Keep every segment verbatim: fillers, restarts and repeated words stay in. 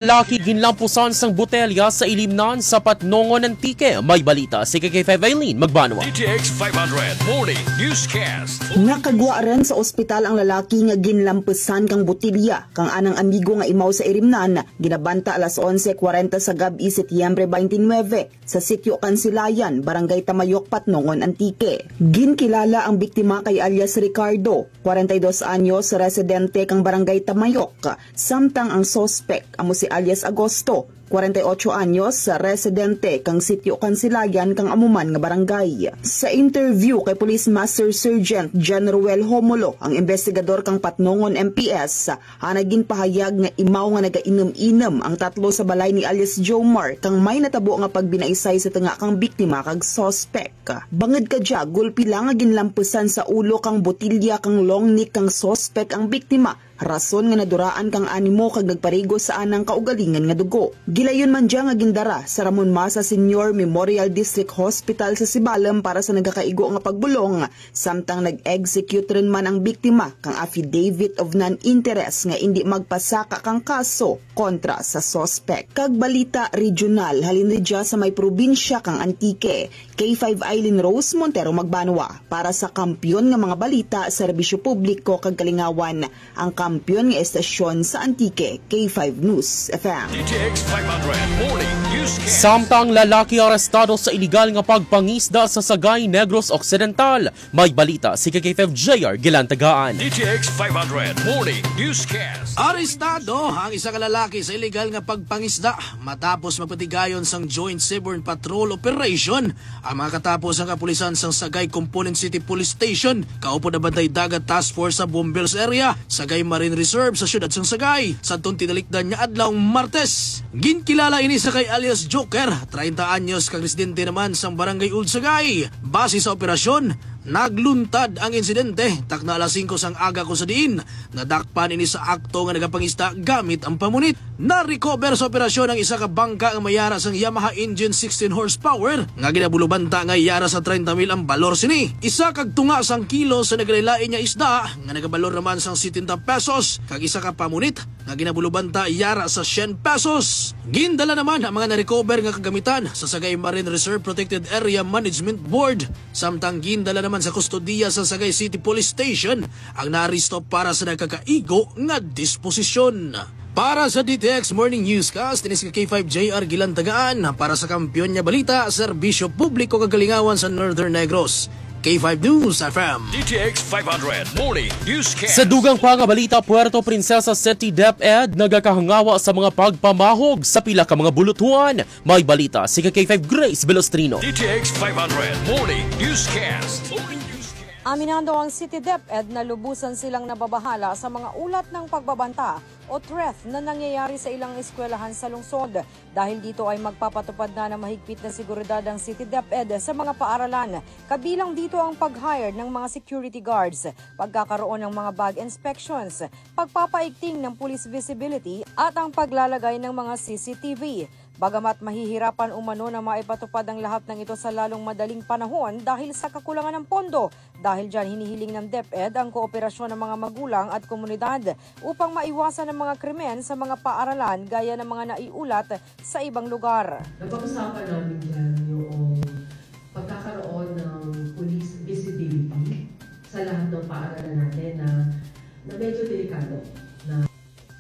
Lalaki ginlampusan sang botelya sa ilimnan sa Patnongon, Antique. May balita si K K five Eileen Magbanwa. D T X five hundred Morning Newscast. Nakagwa rin sa ospital ang lalaki nga ginlampusan kang botelya kang anang amigo nga imaw sa ilimnan, ginabanta alas onse kwarenta sa gab-i, Setyembre twenty-nine, sa Sitio Kansilayan, Barangay Tamayok, Patnongon, Antique. Ginkilala ang biktima kay alias Ricardo, kwarenta y dos anyos, residente kang Barangay Tamayok, samtang ang suspek amo si alias Agosto, kwarenta y ocho anyos, residente kang Sitio Kansilayan kang amo man nga barangay. Sa interview kay Police Master Sergeant John Ruel Homulo, ang investigador kang Patnongon M P S, ana ginpahayag nga imaw nga nagainom-inom ang tatlo sa balay ni alias Jomar kang may natabo nga pagbinaisay sa tunga kang biktima kag suspek. Bangod kadya, gulpi lang nga ginlampusan sa ulo kang botilya kang long neck kang suspek ang biktima, rason nga naduraan kang animo kag nagparigo sa anang kaugalingon nga dugo. Gilayon man dya nga gindara sa Ramon Masa Senior Memorial District Hospital sa Sibalom para sa nagakaigo nga pagbulong, samtang nag-execute rin man ang biktima kang affidavit of non-interest nga indi magpasaka kang kaso kontra sa suspek. Kag balita regional, halin ridya sa may probinsya kang Antique, K five Eileen Rose Montero Magbanwa para sa kampiyon nga mga balita, serbisyo publiko kag kalingawan, ang kampiyon nga estasyon sa Antique, K five News F M. D T X five hundred Morning Newscast. Samtang lalaki arestado sa iligal nga pagpangisda sa Sagay, Negros Occidental. May balita si K K five J R Gilantagaan. D T X five hundred Morning Newscast. Arestado ang isa ka lalaki sa iligal nga pagpangisda matapos magpatigayon sang Joint Seaborne Patrol Operation ang mga katapo sang kapulisan sang Sagay Component City Police Station, kaupod ang Bantay Dagat Task Force sa Bomberos Area, Sagay Marine Reserve sa siyudad sang Sagay, sa tindalikdan nga adlaw Martes. Ginkilala ini sa kay alias Joker, treinta anyos, kag residente naman sang Barangay Old Sagay. Base sa operasyon, nagluntad ang insidente takna alas singko sang aga, kung sa diin nadakpan ini sa akto nga nagapangista gamit ang pamunit. Na-recover sa operasyon ang isa ka bangka nga may yara sang Yamaha engine sixteen horsepower nga ginabulobanta nga yara sa treinta mil ang balor sini. Isa kag tunga sang kilo sa nagalain-lain nga isda nga nagabalor naman sang setenta pesos, kag isa ka pamunit nga ginabulobanta yara sa syen pesos. Gindala naman ang mga na-recover nga kagamitan sa Sagay Marine Reserve Protected Area Management Board, samtang gindala naman sa kustodiya sa Sagay City Police Station ang naaresto para sa nagakaigo nga disposisyon. Para sa D T X Morning Newscast, ini si K five J R Gilantagaan. Para sa kampiyon nga balita, serbisyo publiko kag kalingawan sa Northern Negros, K five News F M. D T X five hundred Morning Newscast. Sa dugang pa nga balita, Puerto Princesa City DepEd nagakahangawa sa mga pagpamahog sa pila ka mga bulutuan. May balita si K five Grace Velostrino. D T X five hundred Morning Newscast. Aminando ang City DepEd na lubusan silang nababahala sa mga ulat ng pagbabanta o threat na nangyayari sa ilang eskwelahan sa lungsod. Dahil dito ay magpapatupad na ng mahigpit na seguridad ang City DepEd sa mga paaralan, kabilang dito ang pag-hire ng mga security guards, pagkakaroon ng mga bag inspections, pagpapaigting ng police visibility at ang paglalagay ng mga C C T V. Bagamat mahihirapan umano na maipatupad ang lahat ng ito sa lalong madaling panahon dahil sa kakulangan ng pondo, dahil dyan hinihiling ng DepEd ang kooperasyon ng mga magulang at komunidad upang maiwasan ang mga krimen sa mga paaralan gaya ng mga naiulat sa ibang lugar. Napag-usapan namin dyan yung pagkakaroon ng police visibility sa lahat ng paaralan natin na, na medyo delikado na.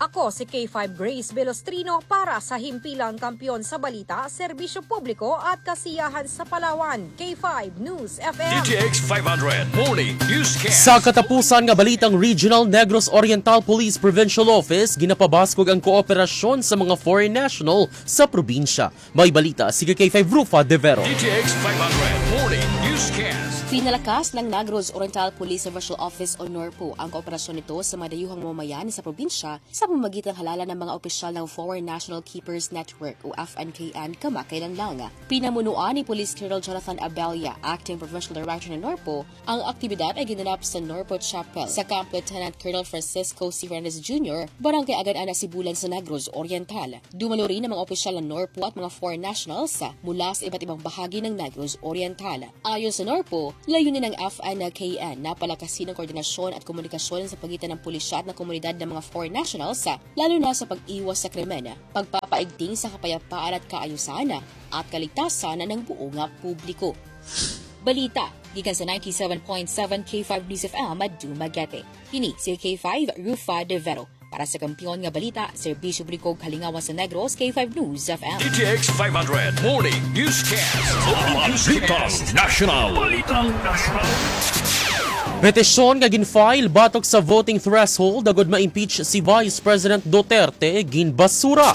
Ako si K five Grace Velostrino para sa Himpilang Kampiyon sa Balita, Serbisyo Publiko at Kasiyahan sa Palawan, K five News F M. D T X five hundred Morning Newscast. Sa katapusan nga balitang regional, Negros Oriental Police Provincial Office ginapabaskog ang kooperasyon sa mga foreign national sa probinsya. May balita si K five Rufa De Vero. D T X five hundred Morning Newscast. Pinalakas ng Negros Oriental Police Provincial Office o NORPO ang kooperasyon nito sa madayuhang mamamayan sa probinsya sa pamamagitan ng halala ng mga opisyal ng Foreign National Keepers Network o F N K N kamakailan lang. Pinamunuan ni Police Colonel Jonathan Abella, Acting Provincial Director ng NORPO, ang aktibidad ay ginanap sa NORPO Chapel sa Camp Lieutenant Colonel Francisco C. Fernandez Junior, Barangay Agan-ana, Sibulan sa Negros Oriental. Dumalo rin ang mga opisyal ng NORPO at mga foreign nationals mula sa iba't ibang bahagi ng Negros Oriental. Ayon sa NORPO, Layunin ng F N K N na palakasin ang koordinasyon at komunikasyon sa pagitan ng pulisya at ng komunidad ng mga foreign nationals, lalo na sa pag-iwas sa krimen, pagpapaigting sa kapayapaan at kaayusan, at kaligtasan ng buong publiko. Balita gikan sa ninety-seven point seven K five News F M at Dumaguete. Kini si K five, Rufa De Vero. Para sa kampiyon nga balita, serbisyo publiko, kalingawan sa Negros, K five News F M. D T X five hundred Morning Newscast. Balitang National. Balitang National. Petisyon nga gin-file batok sa voting threshold agud ma-impeach si Vice President Duterte ginbasura.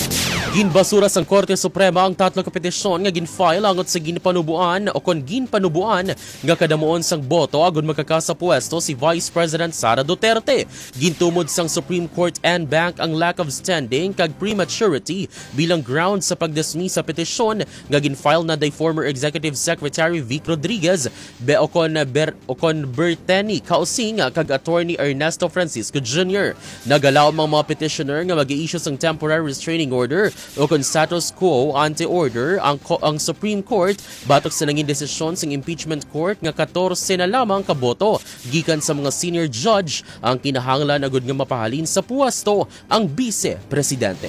Ginbasura sang Korte Suprema ang tatlo ka petisyon nga gin-file angot sa ginpanubuan o kon ginpanubuan nga kadamuon sang boto agud makakasa puwesto si Vice President Sara Duterte. Gintumod sang Supreme Court en banc ang lack of standing kag prematurity bilang ground sa pag-dismiss sa petisyon nga gin-file na day former Executive Secretary Vic Rodriguez be o kon Ber-, o kon Berteni Causing kag Attorney Ernesto Francisco Junior. Nagalaom ang mga petitioner nga mag-i-issue sang temporary restraining order o kon status quo ante order ang ko-, ang Supreme Court batok sa nangin desisyon sang impeachment court nga katorse na lamang ka boto gikan sa mga senior judge ang kinahanglan agud nga mapahalin sa puwesto ang Bise Presidente.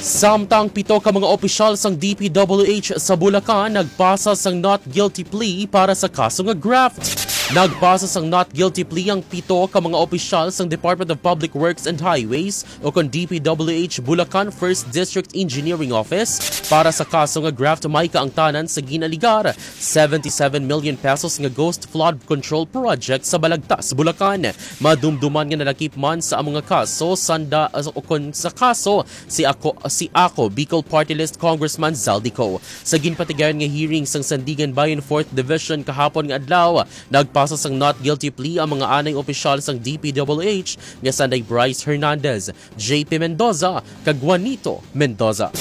Samtang pito ka mga opisyal sang D P W H sa Bulacan nagpasa sang not guilty plea para sa kaso nga graft. Nagpasa sang not guilty plea ang pito ka mga opisyal sang Department of Public Works and Highways o kon D P W H Bulacan First District Engineering Office para sa kaso nga graft may kaangtanan sa ginaligar seventy-seven million pesos nga ghost flood control project sa Balagtas, Bulacan. Madumduman nga nalakip man sa amo nga kaso sanda o kon sa kaso si Ako, si Ako Bicol Party List Congressman Zaldy Co. Sa ginpatigayon nga hearing sang Sandiganbayan Fourth Division kahapon nga adlaw, nagpasa sang not guilty plea ang mga anay opisyal sang D P W H nga sanday Bryce Hernandez, J P Mendoza, kag Juanito Mendoza.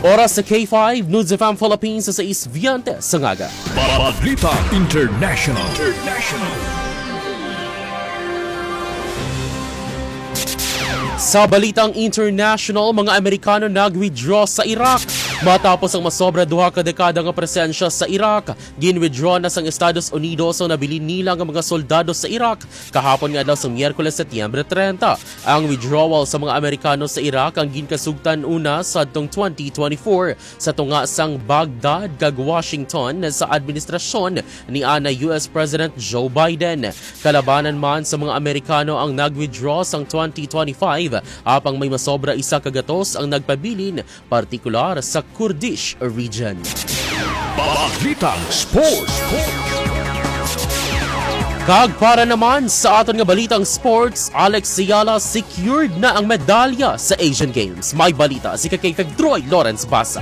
Oras sa K five News F M Philippines sa sais veinte sa aga. Balita International. Sa balitang international, mga Amerikano nag-withdraw sa Iraq. Matapos ang masobra duha ka dekada nga presensya sa Iraq, gin-withdraw na sang Estados Unidos ang nabilin nila nga mga soldado sa Iraq kahapon nga adlaw sa Miyerkules, Setyembre treinta. Ang withdrawal sa mga Amerikano sa Iraq ang ginkasugtan una sadtong twenty twenty-four sa tunga sang Baghdad kag Washington sa administrasyon ni ana U S President Joe Biden. Kalabanan man sa mga Amerikano ang nag-withdraw sang twenty twenty-five, apang may masobra isa ka gatos ang nagpabilin, partikular sa Kurdish region. Balitang Sports. Kag para naman sa aton nga balitang sports, Alex Ayala secured na ang medalya sa Asian Games. May balita si ka K five Troy Lawrence Basa.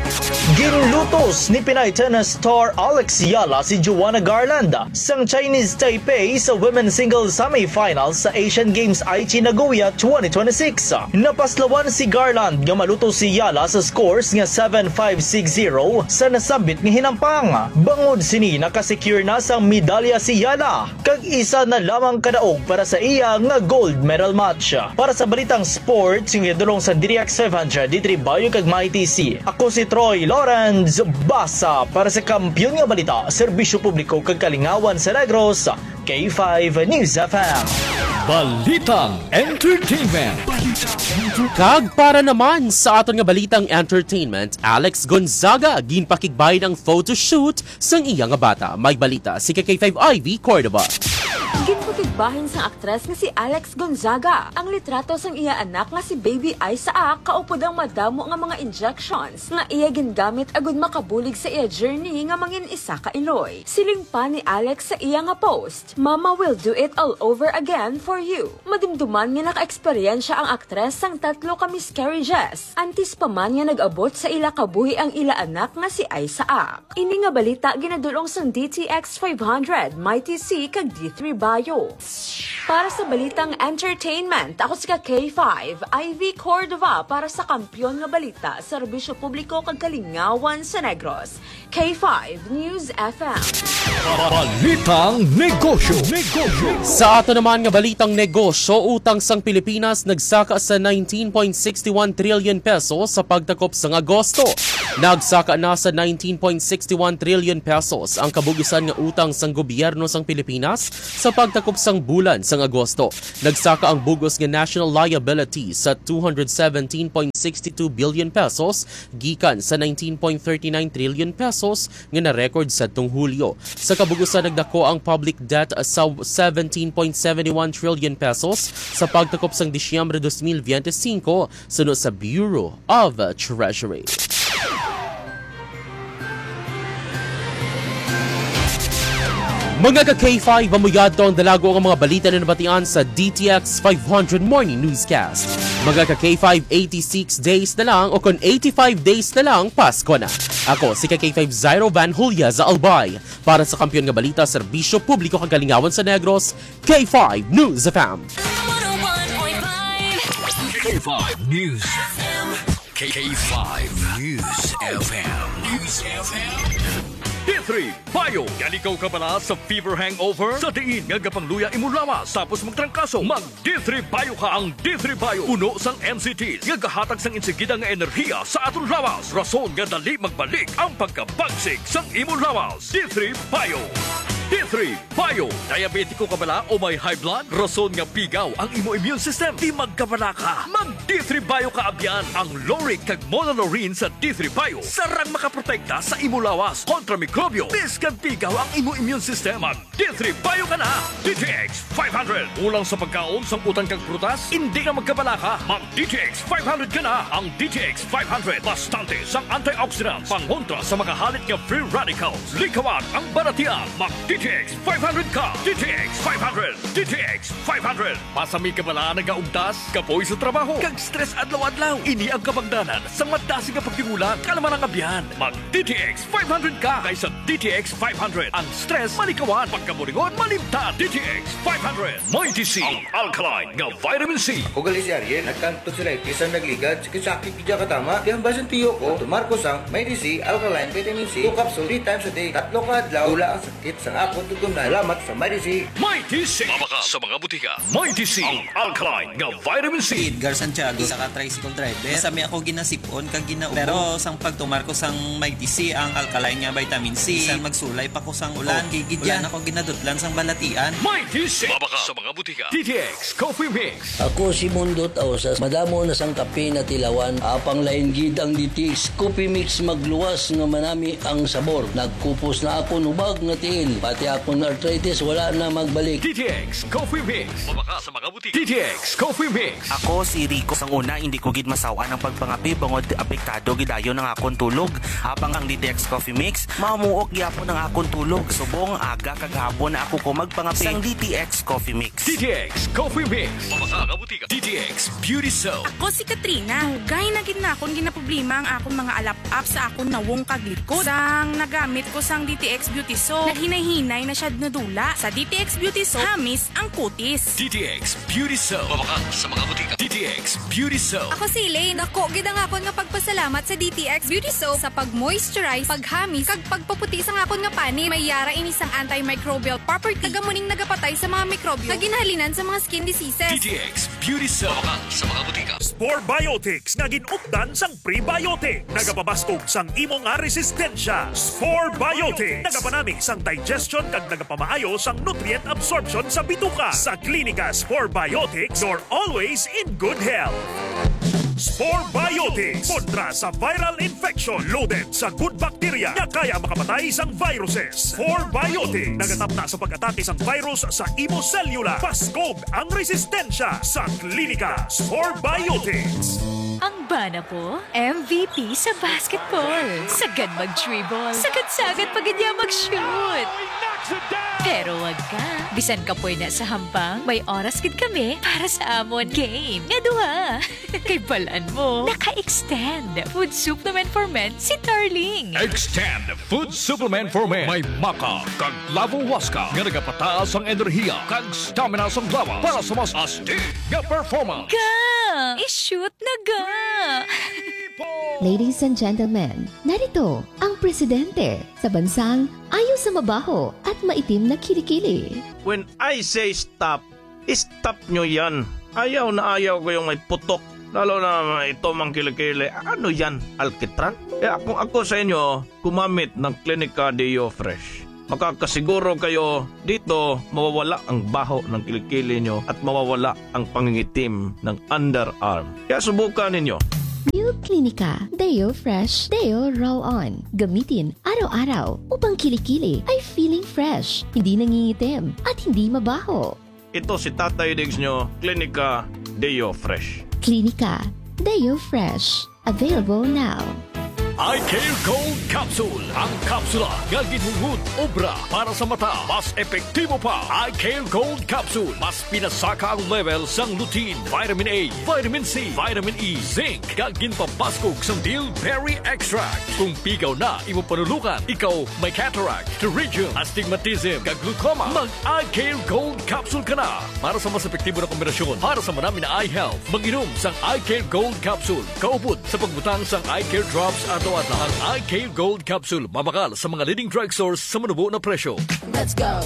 Ginlutos ni Pinay tennis star Alex Ayala si Joanna Garland sang Chinese Taipei sa women's singles semifinals sa Asian Games Aichi Nagoya twenty twenty-six. Napaslawan si Garland nga malutos si Ayala sa scores nga seven five, six zero sa nasambit nga hinampang. Bangod sini, nakasecure na sang medalya si Ayala, kag isa na lamang ka daog para sa iya nga gold medal match. Para sa balitang sports, nga gidulong sa D T X five hundred, D three Bayo kag Mighty C, ako si Troy Lawrence Basa para sa Kampiyon nga Balita, Serbisyo Publiko kag Kalingawan sa Negros, K five News F M. Balitang Entertainment. Kag para naman sa aton nga balitang entertainment, Alex Gonzaga ginpakigbahin ang photoshoot sang iya nga bata. May balita si ka K five Ivy Cordova. Ginpakigbahin sang aktres nga si Alex Gonzaga ang litrato sang iya anak nga si Baby Isaac kaupod ang madamo nga mga injections nga iya gingamit agud makabulig sa iya journey nga mangin isa ka iloy. Siling pa ni Alex sa iya nga post, "Mama will do it all over again for you." Madumduman nga naka-eksperyensya ang aktres sang tatlo ka miscarriages antes pa man nga nag-abot sa ila kabuhi ang ila anak nga si Isaac. Ini nga balita ginadul-ong sang D T X five hundred, Mighty C, kag D three Bayo. Para sa balitang entertainment, ako si ka K five, Ivy Cordova, para sa Kampiyon nga Balita, Serbisyo Publiko kag Kalingawan sa Negros. K five News F M. Balitang negosyo. Negosyo. Sa ato naman nga balitang negosyo, utang sang Pilipinas nagsaka sa nineteen point six one trillion pesos sa pagtakop sang Agosto. Nagsaka na sa nineteen point six one trillion pesos ang kabug-usan nga utang sang gobyerno sang Pilipinas sa pagtakop sang bulan sang Agosto. Nagsaka ang bug-os nga national liability sa two hundred seventeen point six two billion pesos gikan sa nineteen point thirty nine trillion pesos nga na-record sadtong Hulyo. Sa kabug-usan, nagdako ang public debt sa seventeen point seven one trillion pesos sa pagtakop sang Disyembre dos mil veinticinco, suno sa Bureau of Treasury. Mga ka K five, amo yadto ang dalago nga mga balita na nabatian sa D T X five hundred Morning Newscast. Mga ka K five, eighty-six days na lang o kon eighty-five days na lang, Pasko na. Ako si ka K five Zairo Van Julia sa Albay. Para sa Kampiyon nga Balita, Serbisyo Publiko kag Kalingawan sa Negros, K five News F M. K five News. K five News F M. News F M. D three Bio. Gali kaw kabala sa fever hangover? Sa diin nga gapangluya imo lawas tapos magtrangkaso, mag D three Bio ka. Ang D three Bio puno sang N C Ts nga gahatag sang insigida nga enerhiya sa aton lawas, rason nga dali magbalik ang pagkabagsik sang imo lawas. D three Bio. D three Bio. Diabetiko ka bala o may high blood? Rason nga pigaw ang imo immune system. Di magkabala ka. Mag D three Bio ka abyan. Ang lauric kag monolaurin sa D three Bio sarang makaprotekta sa imo lawas kontra mikrobyo. Bisan pigaw ang imo immune system, mag D three Bio ka na. D T X five hundred. Kulang sa pagkaon sang utan kag prutas? Indi na magkabala ka. Mag D T X five hundred ka na. Ang D T X five hundred bastante sang antioxidants pangontra sa makahalit nga free radicals. Likawan ang balatian. Mag D T X five hundred ka. D T X five hundred. D T X five hundred. Masami ka bala nagaugtas, kapoy sa trabaho, kag stress adlaw-adlaw? Ini ang kabangdanan sang madasig nga pagtigulang. Kalma lang, abyan. Mag D T X five hundred ka, kay sa D T X five hundred ang stress malikawan, pagkaburingon malimtan. D T X five hundred, Mighty C, ang alkaline nga vitamin C. Ako gali si Ariel, nagkang tonsillitis ang nagligad, sakit-sakit gid katama. Kaya ang basin tiyo ko, tumar ko sang Mighty C, alkaline vitamin C, two capsule, three times a day, tatlo ka adlaw, wala ang sakit sang akon tutunan. Salamat sa Mighty C. Mighty C. Mabakal sa mga butika. Mighty C, ang alkaline nga vitamin C. Edgar Santiago, isa ka tricycle driver. Masami ako ginasip-on kag ginaubos. Pero sang pagtumar ko sang Mighty C, ang alkaline nga vitamin C, bisan magsulay pa ko sang ulan, oh, kay gid yan ako ginadutlan sang balatian. Mighty C. Mabakal sa mga butika. D T X Coffee Mix. Ako si Mundot Ausas. Madamo na sang kape na tilawan. Apang lain gid ang D T X Coffee Mix, magluwas nga manami ang sabor. Nagkupos na akon hubag nga tiil. Pati akon arthritis wala na magbalik. D T X Coffee Mix. Mabakal sa mga butika. D T X Coffee Mix. Ako si Rico. Sang una, hindi ko gid masaw-an ang pagpangape bangod apektado gid dayon ang akon tulog. Apang ang D T X Coffee Mix, mamuok gyapon ang akon tulog. Subong aga kag hapon na ako ko magpangape. Sang D T X Coffee Mix. D T X Coffee Mix. Mabakal sa mga butika. D T X Beauty Soap. Ako si Katrina. Dugay na gid na akon ginaproblema ang akon mga alap-ap sa akon nawong kag likod. Sang nagamit ko sang D T X Beauty Soap, naghinay-hinay na siya nadula. Sa D T X Beauty Soap, hamis ang kutis. D T X Beauty Soap. Mabakal sa mga butika. D T X Beauty Soap. Ako si Elaine. Dako gid ang akon nga pagpasalamat sa D T X Beauty Soap sa pag-moisturize, paghamis, kag pagpaputi sang akon nga panit. May yara ini sang antimicrobial property, kag amo ning nagapatay sa mga mikrobyo nga ginahalinan sa mga skin diseases. D T X Beauty Soap. Mabakal sa mga butika. Spore Biotics nga gin-updan sang prebiotic. Nagapabaskog sang imo nga resistensya. Spore Biotics. Nagapanami sang digestion kag nagapamaayo sang nutrient absorption sa bituka. Sa Klinika Spore Biotics, you're always in good health. Spore Biotics. Kontra sa viral infection. Loaded sa good bacteria nga kaya makapatay sang viruses. Spore Biotics. Nagatapna sa pag-atake sang virus sa imo selula. Paskog ang resistensya sa Klinika Spore Biotics. Ang bana ko, M V P sa basketball. Sagad mag-dribble. Sagad-sagad pa gid niya mag-shoot. Pero wag ka. Bisan kapoy na sa hambang, may oras gid kami para sa amon game nga duha. Kay balan mo, naka-extend Food Supplement for Men si Darling. Extend Food Supplement for Men. May maca kag Lavo Huasca nga nagapataas ang enerhiya kag stamina sang lawas para sa mas astig nga performance. Ga! I-shoot na ga! Ladies and gentlemen, narito ang presidente sa bansang ayaw sa mabaho at maitim na kilikili. When I say stop, stop nyo yan. Ayaw na ayaw ko yung may putok. Lalo na ito mang kilikili. Ano yan? Alkitran? Kaya kung ako sa inyo, gumamit ng Clinica Deo Fresh. Makakasiguro kayo dito mawawala ang baho ng kilikili nyo at mawawala ang pangingitim ng underarm. Kaya subukan ninyo. New Clinica Deo Fresh Deo Roll On. Gamitin araw-araw upang kilikili ay feeling fresh, hindi nangingitim, at hindi mabaho. Ito si Tatay Diggs nyo, Clinica Deo Fresh. Clinica Deo Fresh. Available now. Eye Care Gold Capsule. Ang kapsula nga ginhungod obra para sa mata. Mas epektibo pa. Eye Care Gold Capsule. Mas pinasaka ang level sang lutein, vitamin A, vitamin C, vitamin E, zinc, kag ginpabaskog sang bilberry extract. Kung pigaw na imo panulukan, ikaw may cataract, pterygium, astigmatism, kag glaucoma, mag Eye Care Gold Capsule ka na. Para sa mas epektibo na kombinasyon para sa manami na eye health, mag-inom sang Eye Care Gold Capsule. Kaupod sa pagbutang sang Eye Care Drops adlaw-adlaw. Ang Eye Care Gold Capsule mabakal sa mga leading drugstores sa manubo na presyo. Let's go.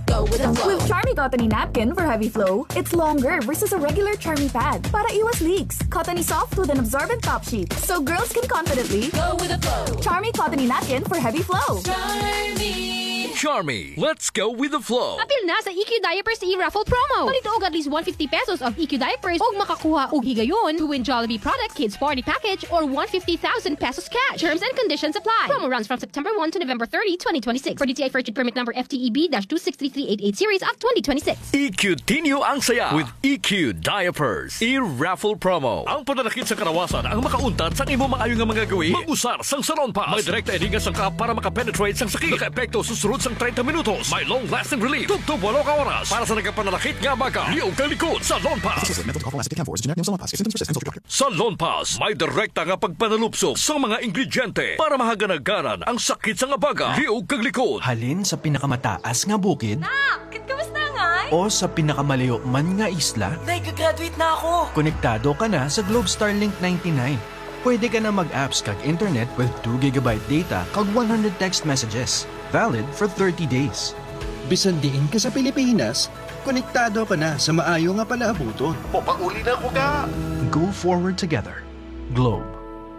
Go with the flow. With Charmy Cottony Napkin for Heavy Flow, it's longer versus a regular Charmy pad para iwas leaks. Cottony soft with an absorbent top sheet, so girls can confidently Go with the flow. Charmy Cottony Napkin for Heavy Flow. Charmy. Charmy, let's go with the flow. Apil na sa E Q Diapers e-raffle promo. Palito og at least one fifty pesos of E Q diapers ug makakuha og higayon to win Jollibee product, kids party package, or one fifty thousand pesos cash. Terms and conditions apply. Promo runs from September one to November thirty, twenty twenty-six. For D T I Fair Trade Permit number F T E B dash two six three three eight eight series of twenty twenty-six. E Q Tinyo ang saya with E Q Diapers e-raffle promo. Ang pananakit sa kalawasan ang makauntat sang imo maayo nga mga gawi. Mag-usar sang Salon Pass. May direkta ini nga sangkap para makapenetrate sang sakit. Nakaepekto sa sulod sang treinta minutos. May long-lasting relief tubtob walo ka oras para sa nagapananakit nga baga, liog kag likod. Salon Pass. Associated with mental health, acid camphor is a generic name of Salonpas. If symptoms persist, consult your doctor. Salonpas may direkta nga pagpanalupsop sa mga ingrediente para mahaganaganan ang sakit sa nga baga, liog kag likod. Halin sa pinakamataas nga bukid Nak, kamusta ngay? O sa pinakamalayo man nga isla, Nag-graduate na ako. Konektado ka na sa Globe Starlink ninety-nine. Pwede ka na mag-apps kag internet with two gigabyte data kag one hundred text messages. Valid for thirty days. Bisan diin ka sa Pilipinas, konektado ka na sa maayo nga palaabuton. Papauli na ko ka! Go forward together. Globe.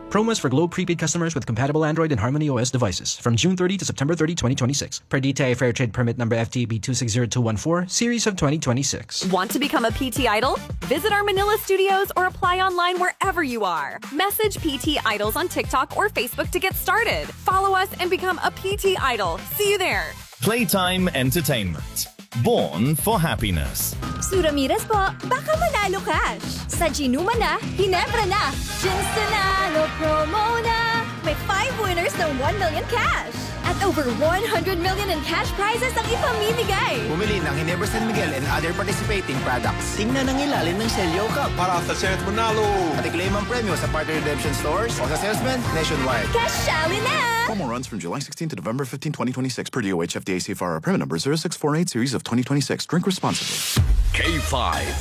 Promos for Globe prepaid customers with compatible Android and Harmony O S devices from June thirty to September thirty, twenty twenty-six. Per D T I Fair Trade Permit number F T B two six zero two one four, series of twenty twenty-six. Want to become a P T Idol? Visit our Manila studios or apply online wherever you are. Message P T Idols on TikTok or Facebook to get started. Follow us and become a P T Idol. See you there! Playtime Entertainment. Born for happiness. Sue Ramirez po, baka manalo cash. Sa Ginuma na, Ginebra na. Ginstanalo promo na. May five winners ng one million cash. At over one hundred million in cash prizes ang ipamimigay. Bumili ng Ginebra San Miguel and other participating products. Tingnan ang ilalim ng Selyo Cup para sa chance manalo. At i-claim ang premyo sa partner redemption stores o sa salesman nationwide. Kasali na! Promo runs from July sixteen to November fifteen, twenty twenty-six, per D O H F D A C F R, permit number zero six four eight series of twenty twenty-six. Drink responsibly. K five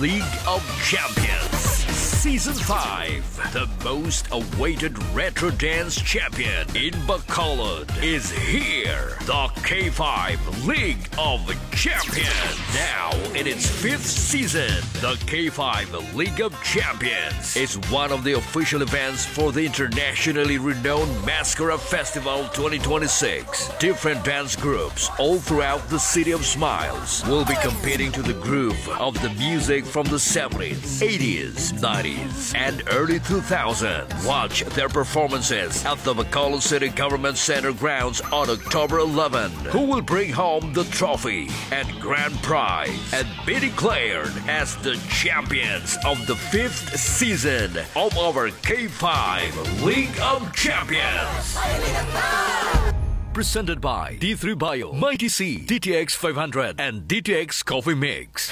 League of Champions Season five. The most awaited retro dance champion in Bacolod is here. The K five League of Champions. Now in its fifth season, the K five League of Champions is one of the official events for the internationally renowned Mascara Festival twenty twenty-six. Different dance groups all throughout the City of Smiles will be competing to the groove of the music from the seventies, eighties, nineties, and early two thousands. Watch their performances at the Bacolod City Government Center grounds on October eleven. Who will bring home the trophy and grand prize and be declared as the champions of the fifth season of our K five League of Champions? Presented by D three Bio, Mighty C, D T X five hundred, and D T X Coffee Mix.